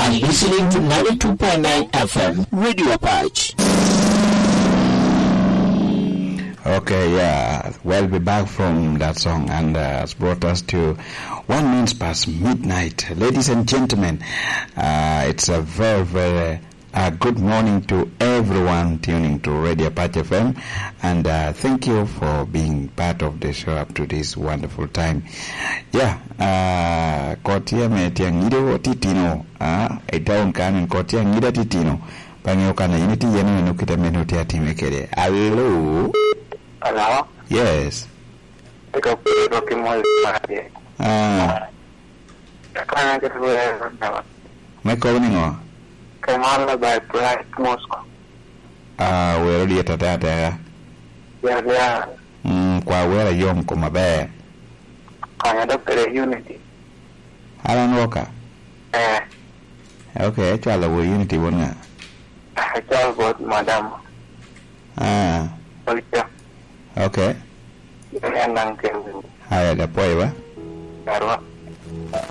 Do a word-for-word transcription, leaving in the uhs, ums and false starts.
Listening to ninety-two point nine F M, Radio Patch. Okay, yeah. We'll be back from that song and uh, has brought us to one minutes past midnight. Ladies and gentlemen, uh, it's a very, very uh, good morning to everyone tuning to Radio Patch F M, and uh, thank you for being part of the show up to this wonderful time. Yeah, uh, kot tye me tye angido titino, uh, i town kan en kot tye angido titino. Bang'e okana in itye yen eno kite mene otye atime kede. Alo? Alo? Yes. Eka kwero ki mol mare. Ah. Aka an kit wero daba. Me kobo ni ngo? Kemala by Bright Moscow. Ah, wero lyet ate ateka. Ya, ya. Mm, kwa wero ayom kom aber. Kanya dok kede Unity. Alan Walker? Eh. Okay, ecwalo wo Unity won nga? Ecwalo bot madam. Ah. Olivia. Okay. Yan daŋ ken. Aya, da pwoyo ba? Arwa.